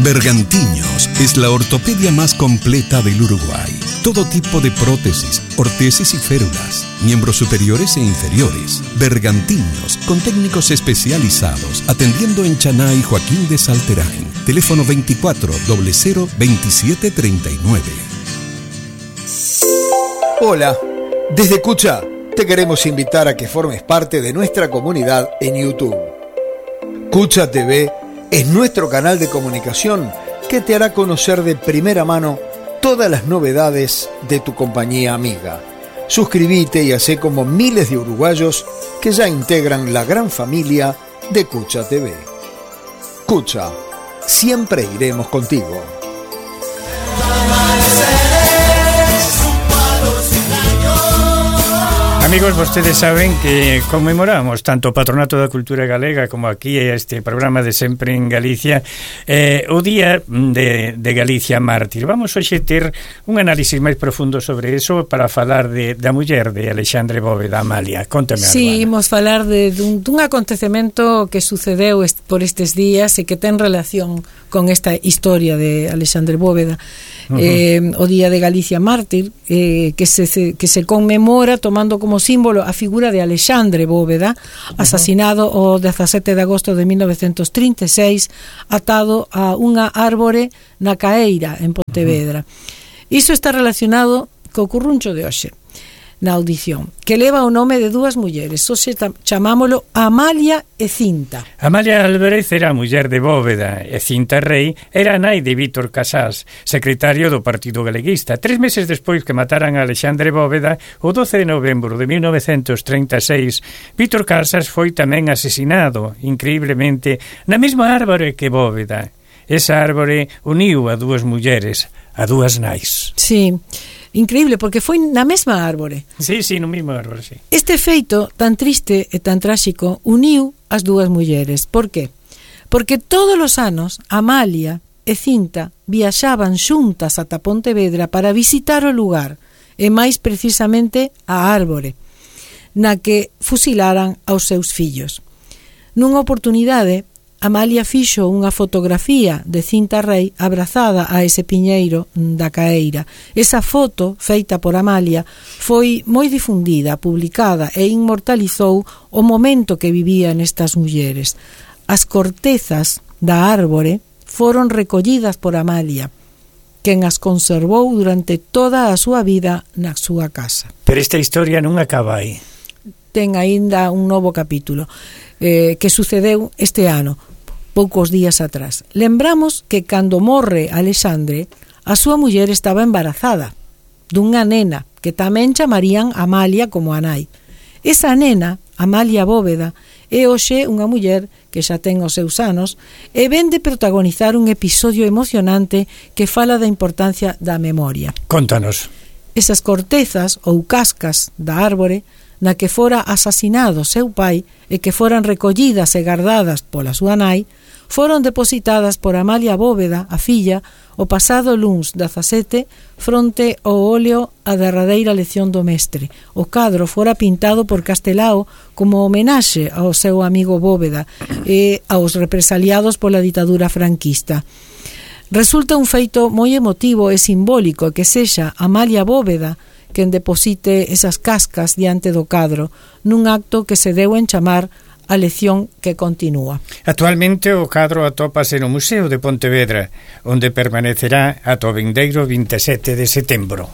Bergantiños es la ortopedia más completa del Uruguay. Todo tipo de prótesis, ortesis y férulas, miembros superiores e inferiores. Bergantiños, con técnicos especializados, atendiendo en Chaná y Joaquín de Salterain. Teléfono 24 00 27 39. Hola, desde Cucha te queremos invitar a que formes parte de nuestra comunidad en YouTube. Cucha TV es nuestro canal de comunicación que te hará conocer de primera mano todas las novedades de tu compañía amiga. Suscríbete y hacé como miles de uruguayos que ya integran la gran familia de Cucha TV. Cucha, siempre iremos contigo. Amigos, vostedes saben que conmemoramos tanto o Patronato da Cultura Galega como aquí este programa de Sempre en Galicia o Día de Galicia Mártir. Vamos hoxe ter un análisis máis profundo sobre eso para falar da muller de Alexandre Bóveda, Amalia. Contame, Sí, Arbana. imos falar dun acontecemento que sucedeu por estes días e que ten relación con esta historia de Alexandre Bóveda. O Día de Galicia Mártir, que se conmemora tomando como símbolo a figura de Alexandre Bóveda, asasinado o 17 de agosto de 1936, atado a unha árbore na Caeira, en Pontevedra. Iso está relacionado co curruncho de hoxe, na audición, que leva o nome de dúas mulleres. Hoxe chamámolo Amalia e Cinta. Amalia Álvarez era a muller de Bóveda e Cinta Rei era a nai de Vítor Casás, secretario do Partido Galeguista. 3 meses despois que mataran a Alexandre Bóveda, o 12 de novembro de 1936, Vítor Casás foi tamén asesinado, increíblemente, na mesma árbore que Bóveda. Esa árbore uniu a dúas mulleres, a dúas nais. Sí, increíble, porque foi na mesma árbore. Sí, no mesmo árbore, sí. Este feito tan triste e tan tráxico uniu as dúas mulleres. Por qué? Porque todos os anos Amalia e Cinta viaxaban xuntas ata Pontevedra para visitar o lugar, e máis precisamente a árbore, na que fusilaran aos seus fillos. Nunha oportunidade, Amalia fixo unha fotografía de Cinta Rei abrazada a ese piñeiro da Caeira. Esa foto, feita por Amalia, foi moi difundida, publicada e inmortalizou o momento que vivían estas mulleres. As cortezas da árbore foron recollidas por Amalia, quen as conservou durante toda a súa vida na súa casa. Pero esta historia non acaba aí. Ten aínda un novo capítulo que sucedeu este ano, poucos días atrás. Lembramos que cando morre Alexandre, a súa muller estaba embarazada dunha nena que tamén chamarían Amalia como a nai. Esa nena, Amalia Bóveda, é hoxe unha muller que xa ten os seus anos e ven de protagonizar un episodio emocionante que fala da importancia da memoria. Contanos. Esas cortezas ou cascas da árbore na que fora asasinado seu pai e que foran recollidas e guardadas pola súa nai, foron depositadas por Amalia Bóveda, a filla, o pasado luns 17 fronte ao óleo A derradeira lección do mestre. O cadro fora pintado por Castelao como homenaxe ao seu amigo Bóveda e aos represaliados pola ditadura franquista. Resulta un feito moi emotivo e simbólico que sexa Amalia Bóveda quen deposite esas cascas diante do cadro nun acto que se deu en chamar a lección que continúa. Actualmente o cadro atópase no Museo de Pontevedra, onde permanecerá ata o vindeiro 27 de setembro.